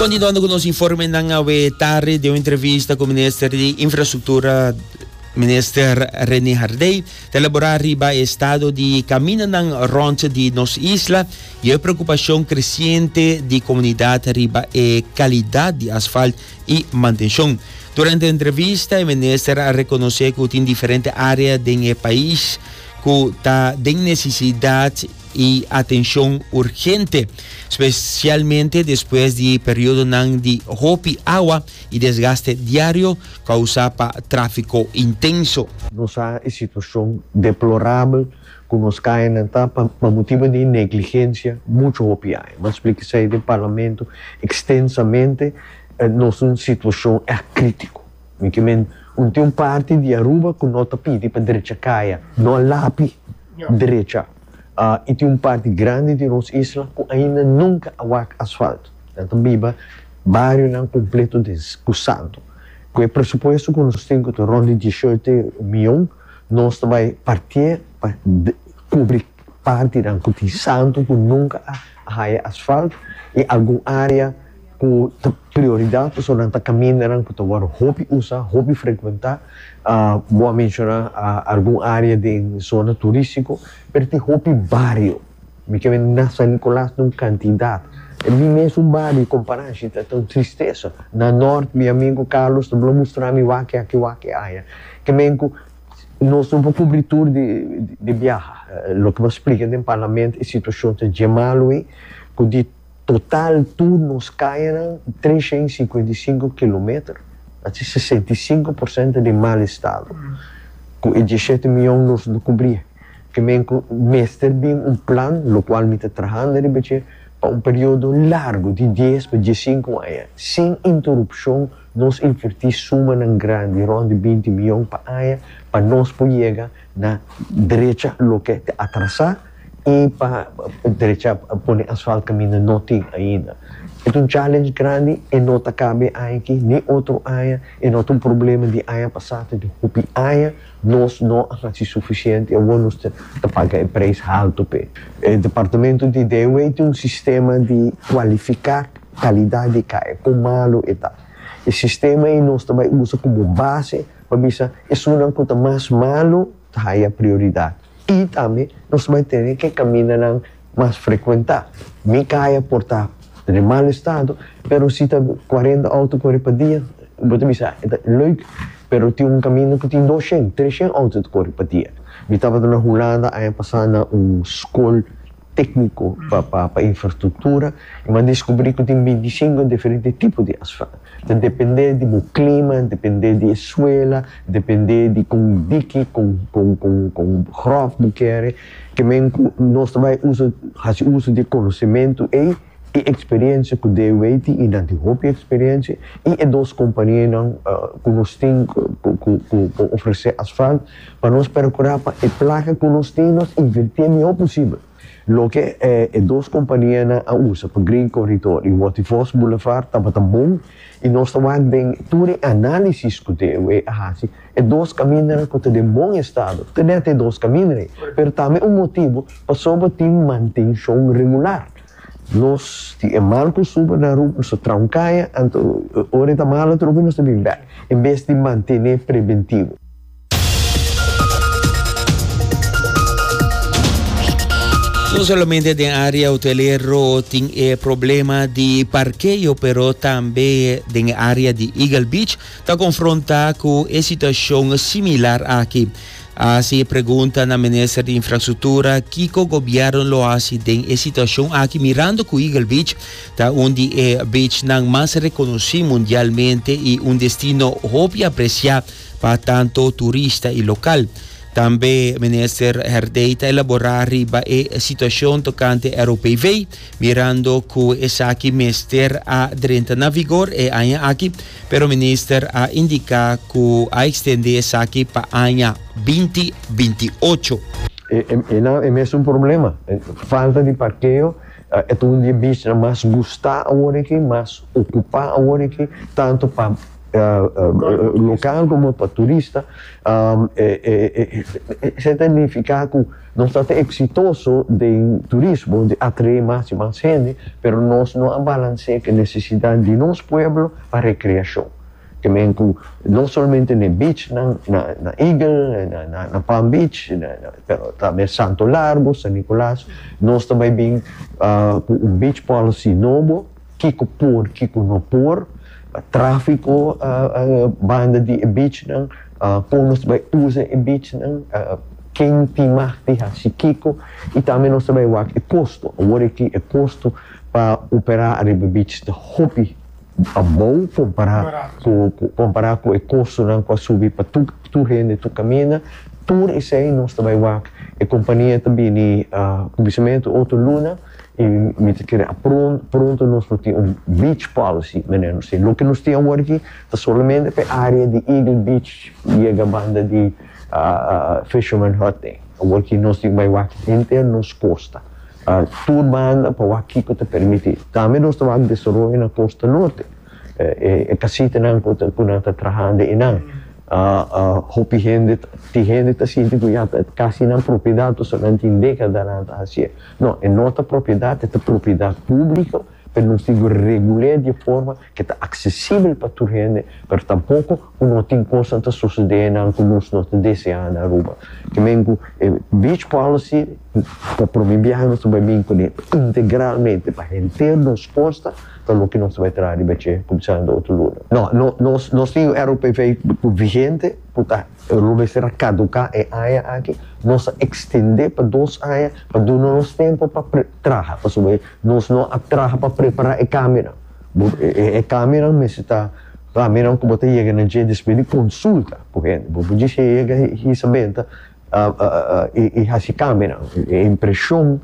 Continuando cu nos informenan awe tarde den un entrevista cu Minister di Infrastructura Minister Rene Hardey ta elabora riba e estado di caminanan rond di nos isla y e preocupacion creciente di comunidad riba e calidad di asfalt y mantencion. Durante e entrevista e minister a reconoce cu tin diferente area den e pais cu ta den necesidad y atencion urgente, specialmente despues di periodonan di hopi awa y desgaste diario causa pa trafico intenso. Nos sa e situacion deplorabel cu nos cayanan ta pa motibo di negligencia mucho hopi aña. M'a splica esey den Parlamento extensamente, nos ta un situacion echt critico. Mi ke men un tin un parti di Aruba ku no ta pidi pa drecha kaya, no a lapi drecha. I tin un parti grandi di nos isla ku ainda nunka a wak asfalto. Nan ta biba barionan kompleto den ku santu. Ku e presupuesto ku nos tin ku ta rònt di dieshote mion, nos ta bai partié pa kubri partinan ku tin santu ku nunka a haya asfalto i algun área ku ta prioridat pasobra nan ta kamindanan ku ta wòrdu hopi usa, hopi frekuentá. Bo a menshoná algun área den zona turístiko, pero tin hopi bario. Mi ke bini na San Nicolas na un kantidat. E mi mes un bario kompará shi ta un tristesa. Na nòrt mi amigu Carlos ta blo mustra mi wak aki wak aya. Ke men ku nos no por kubri tur di biaha. Loke bo a splika den parlamento e situashon ta dje malu ei ku di. Total tur nos kayanan 355 kilometer, haci 65% den mal estado. Cu e diesshete miyon nos no cubri. Ke men cu mester bin un plan, locual mi ta trahando riba dje, pa un periodo largo di dies pa diescinco aña, sin interupcion nos inverti sumanan grandi, rond di binti miyon pa aña, pa nos por yega na drecha loke ta atrasa. I pa drecha pone asfalt kaminda no tin ainda. E ta un challenge grandi, e no ta kaba e aña aki ni otro aña, e no ta un problema di aña pasá, ta di hopi aña nos no a hasi sufisiente i awor nos ta paga e preis haltu p'e. E departamento di DOW tin un sistema di kualifiká kalidat di kaya, kon malu e ta. E sistema ei nos ta bai usa komo base pa bisa esunnan ku ta mas malu ta haya prioridat. I tambe nos bai tene ke kamindanan mas frekuentá. Mi kaya por ta den mal estado, pero si ta kuarenta outo kore pa dia, bo ta bisa e ta leuk, pero tin un kaminda ku tin doshen, treshen outo ta kore pa dia. Mi tabata na Hulanda aña pasá na un skol tékniko pa infrastruktura i mi a deskubrí ku tin bintisinko diferente tipo di asfalt. Ta dependé di bo klima, dependé di e suela, dependé di kon diki, kon kon kon kon gròf bo kere. Ke men ku nos ta bai usa hasi uso di e konosementu ei i eksperensia ku DW tin i nan tin hopi eksperensia i e dos kompanianan ku nos tin ku ku ku por ofresé asfalt pa nos perkurá pa e plaka ku nos tin nos invertié mihó posibel. Loke e dos kompanianan a usa pa Green Corridor i Waterfalls Boulevard tabata bon i nos ta wak den tur e análisis ku DOE a hasi, e dos kamindanan ku ta den bon estado, ta nèt e dos kamindanan ei, pero tambe un motibu pasobra tin mantenshon regular. Nos tin e mal kustumber na Aruba, nos ta traha un kaya, anto ora e ta malo atrobe nos ta bin bèk, en bes di mantené preventivo. No solamente den área hotelero tin e problema di parkeo, pero tambe den e área di Eagle Beach ta konfrontá ku e situashon similar aki. A hasi e pregunta na Minister di Infrastruktura kiko gobièrnu lo hasi den e situashon aki mirando ku Eagle Beach ta un di e beachnan mas rekonosí mundialmente i un destino hopi apresiá pa tanto turista y local. Tambe Minister Herdey ta elabora riba e situacion tocante ROPV, mirando cu esaki mester a drenta na vigor e aña aki, pero Minister a indica cu a extende esaki pa aña 2028. E mesun problema, falta di parkeo, e ta un di e beachnan mas gusta awor aki, mas ocupa awor aki, tanto pa. lokal komo pa turista. Esei ta nifiká ku nos ta ta eksitoso den turismo, di atraé mas i mas hende, pero nos no a balans'é ku e nesesidat di nos pueblo pa rekreashon. Ke men ku no solamente na e beachnan na Eagle, na Palm Beach, pero tambe Santo Largo, San Nicolas, nos ta bai bin ku un beach policy nobo, kiko por, kiko no por, tráfiko banda di e beachnan, kon nos ta bai usa e beachnan, ken tin mag di hasi kiko, i tambe nos ta bai wak e kosto. Awor aki e kosto pa operá ariba beach ta hopi. Abou kompará ku kompará ku e kostonan ku a subi pa tur tur hende tur kaminda, tur esei nos ta bai wak. E kompania ta bini kuminsamentu otro luna i mi ta kere a pronto nos lo tin un beach policy manera nos tin. Loke nos tin awor aki ta solamente pa e área di Eagle Beach yega banda di Fisherman Hut ei. Awor aki nos tin bai wak henter nos kosta. Tur banda pa wak kiko ta permití. Tambe nos ta wak desaroyo na kosta norte. E kasitanan ku ku nan ta trahando einan. Hopi hende, tin hende ta sinti ku ya ta kasi nan propiedat pasobra nan tin dékadanan ta hasié. No, e no ta propiedat, e ta propiedat públiko. Pero nos tin ku regul'é di e forma ku ta aksesibel pa tur hende, pero tampoko ku no tin kosnan ta sosodé nan ku nos no ta deseá na Aruba. Ke men ku e beach policy pa promé biaha nos ta bai bin kuné integralmente pa henter nos kosta ta loke nos ta bai traha riba dje kuminsando otro luna. No, no, nos nos tin un ROPV vigente ku ta. Lo mester a caduca e aña aki, nos a extende pa dos aña pa duna nos tempo pa traha, pasobra nos no a traha pa prepara e cambionan. E cambionan mester ta cambionan cu bo ta yega na dje despues di consulta cu hende. Bo por djis yega hisa benta y haci cambionan. E impresion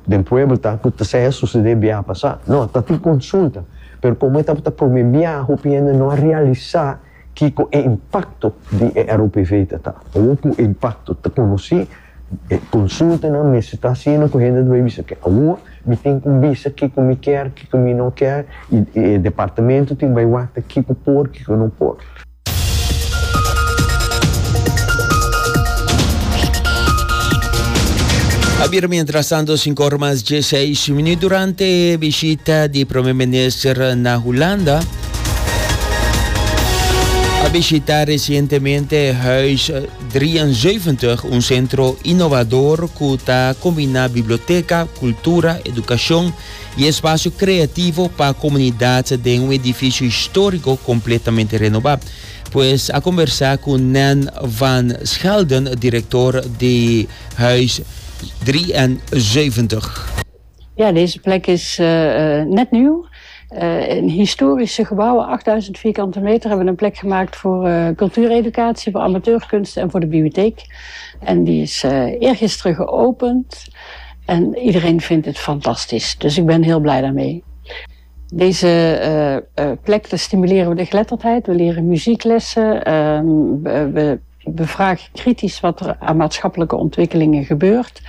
den pueblo ta cu ta sea sucede biaha pasa. No, ta tin consulta, pero como e tabata prome biaha hopi hende no a realisa Kiko e impakto di e ROPV ta ta? Awor ku e impakto ta konosí, e konsultanan mester ta hasiendo ku hende ta bai bisa ke awor mi tin ku bisa kiko mi kier, kiko mi no kier i e departamento tin bai wak ta kiko por, kiko no por. A bira mientrastanto sinku ora mas dieseis minuut durante e bishita di Prome Minister na Hulanda. A bishita recientemente Huis 73, un centro innovador cu ta combina biblioteca, cultura, educacion y espacio creativo pa comunidad den un edificio historico completamente renoba. Pues a conversa cu Nan van Schelden, director di Huis 73. Ja, deze plek is net nieuw. In historische gebouwen, 8000 vierkante meter, hebben we een plek gemaakt voor cultuureducatie, voor amateurkunst en voor de bibliotheek. En die is eergisteren geopend. En iedereen vindt het fantastisch. Dus ik ben heel blij daarmee. Deze plek, daar stimuleren we de geletterdheid. We leren muzieklessen. We bevragen kritisch wat er aan maatschappelijke ontwikkelingen gebeurt.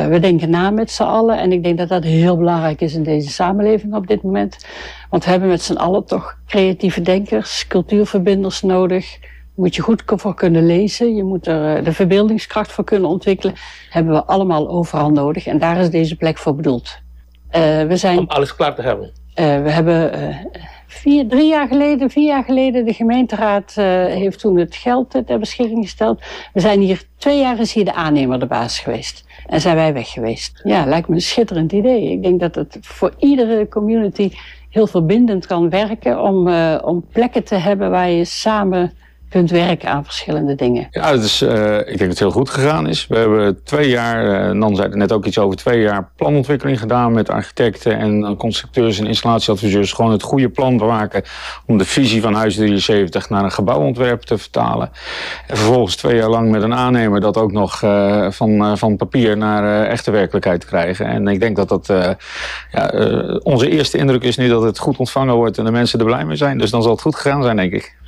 We denken na met z'n allen. En ik denk dat dat heel belangrijk is in deze samenleving op dit moment. Want we hebben met z'n allen toch creatieve denkers, cultuurverbinders nodig. Moet je goed voor kunnen lezen. Je moet er de verbeeldingskracht voor kunnen ontwikkelen. Hebben we allemaal overal nodig. En daar is deze plek voor bedoeld. We zijn, Om alles klaar te hebben? We hebben vier, drie jaar geleden, vier jaar geleden, de gemeenteraad heeft toen het geld ter beschikking gesteld. We zijn hier, twee jaar is hier de aannemer de baas geweest. En zijn wij weg geweest. Ja, lijkt me een schitterend idee. Ik denk dat het voor iedere community heel verbindend kan werken om plekken te hebben waar je samen kunt werken aan verschillende dingen. Ja, het is, ik denk dat het heel goed gegaan is. We hebben twee jaar, Nan zei er net ook iets over, twee jaar planontwikkeling gedaan met architecten en constructeurs en installatieadviseurs. Gewoon het goede plan te maken om de visie van Huis 73 naar een gebouwontwerp te vertalen. En vervolgens twee jaar lang met een aannemer dat ook nog van papier naar echte werkelijkheid te krijgen. En ik denk dat dat, ja, onze eerste indruk is nu dat het goed ontvangen wordt en de mensen er blij mee zijn. Dus dan zal het goed gegaan zijn, denk ik.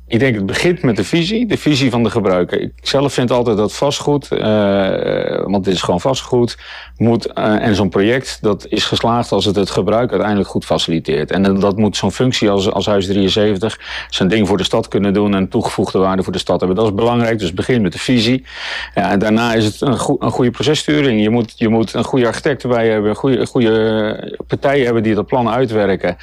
Ik denk het begint met de visie, de visie van de gebruiker. Ik zelf vind altijd dat vastgoed, uh, want dit is gewoon vastgoed, moet, uh, en zo'n project dat is geslaagd als het het gebruik uiteindelijk goed faciliteert. En dat moet zo'n functie als, als Huis 73 zijn ding voor de stad kunnen doen en toegevoegde waarde voor de stad hebben. Dat is belangrijk, dus begin met de visie. Ja, en daarna is het een, een goede processturing. Je moet, je moet een goede architect erbij hebben, een goede, goede partijen hebben die dat plan uitwerken.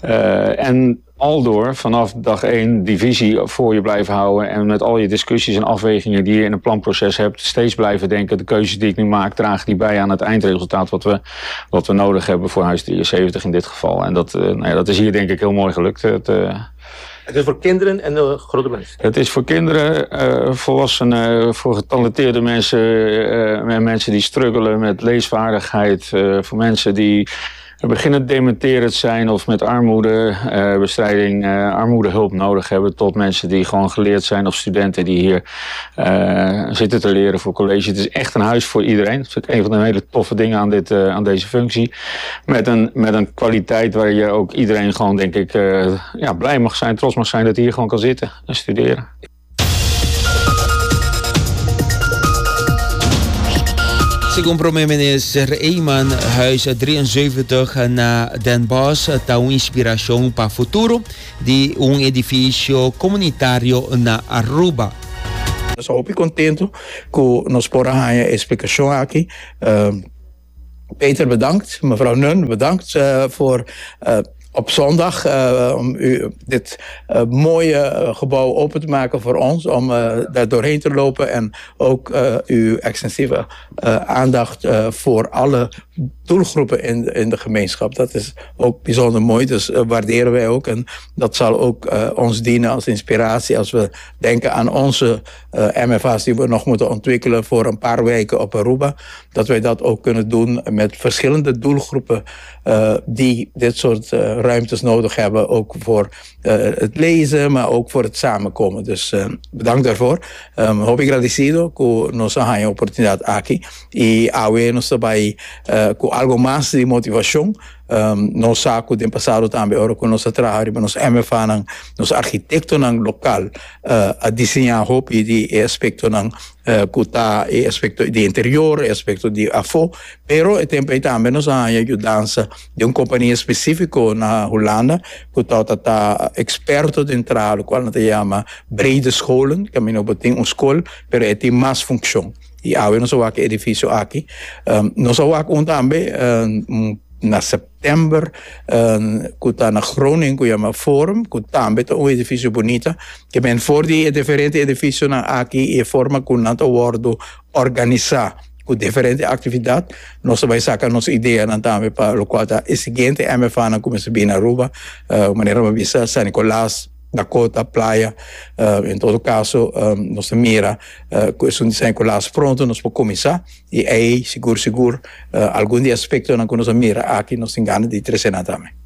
Uh, en aldoor vanaf dag één die visie voor je blijven houden. En met al je discussies en afwegingen die je in een planproces hebt, steeds blijven denken: de keuzes die ik nu maak, dragen die bij aan het eindresultaat wat we, wat we nodig hebben voor Huis 73 in dit geval. En dat, uh, nou ja, dat is hier denk ik heel mooi gelukt. Het, uh, het is voor kinderen en uh, grote mensen? Het is voor kinderen, uh, volwassenen, voor getalenteerde mensen, uh, mensen die struggelen met leesvaardigheid, voor mensen die beginnen dementerend zijn of met armoedebestrijding, uh, armoedehulp nodig hebben, tot mensen die gewoon geleerd zijn of studenten die hier uh, zitten te leren voor college. Het is echt een huis voor iedereen. Dat vind ik een van de hele toffe dingen aan, dit, uh, aan deze functie. Met een, met een kwaliteit waar je ook iedereen gewoon, denk ik, ja, blij mag zijn, trots mag zijn dat hij hier gewoon kan zitten en studeren. Segun Prome Minister Eman, Huis 73 na Den Bosch ta un inspiracion pa futuro di un edificio comunitario na Aruba. Nos ta hopi contento cu nos por a haña e explicacion aki. Peter bedankt, mevrouw Nun bedankt voor op zondag om u dit mooie gebouw open te maken voor ons, om daar doorheen te lopen en ook uw extensieve aandacht voor alle doelgroepen in, in de gemeenschap. Dat is ook bijzonder mooi, dus waarderen wij ook. En dat zal ook ons dienen als inspiratie als we denken aan onze MFA's die we nog moeten ontwikkelen voor een paar weken op Aruba. Dat wij dat ook kunnen doen met verschillende doelgroepen die dit soort ruimtes nodig hebben. Ook voor het lezen, maar ook voor het samenkomen. Dus bedankt daarvoor. Um, hopi agradecido ku nos a haña oportunidad aki y awe nos ta bai uh, ku algo mas di motivacion. Um, nos sa ku den pasado tambe ora ku nos a traha riba nos MFA-nan, nos arquitectonan local uh, a diseñá hopi di e aspectonan uh, ku ta e aspecto di interior, e aspecto di afó, pero e tempo ei tambe nos a haña yudansa di un compania específico na Hulanda ku tabata ta experto den traha lokual nan ta yama brede scholen, kaminda bo tin un skol pero e tin mas funccion. Y awe nos a wak e edificio aki. Nos a wak un tambe na september cu ta na Groningen cu yama Forum, cu tambe ta un edificio bunita. Ke men for di e diferente edificionan aki y e forma cu nan ta wordo organisa cu diferente actividad, nos ta bay saca nos ideanan tambe pa locual ta e siguiente MFA-nan cu mester bini Aruba, manera bo a bisa San Nicolas, Dakota, Playa. En todo caso, nos ta mira cu esun di San Nicolas pronto nos por cuminsa y ey sigur sigur algun di e aspectonan cu nos a mira aki nos tin gana di trece nan tambe.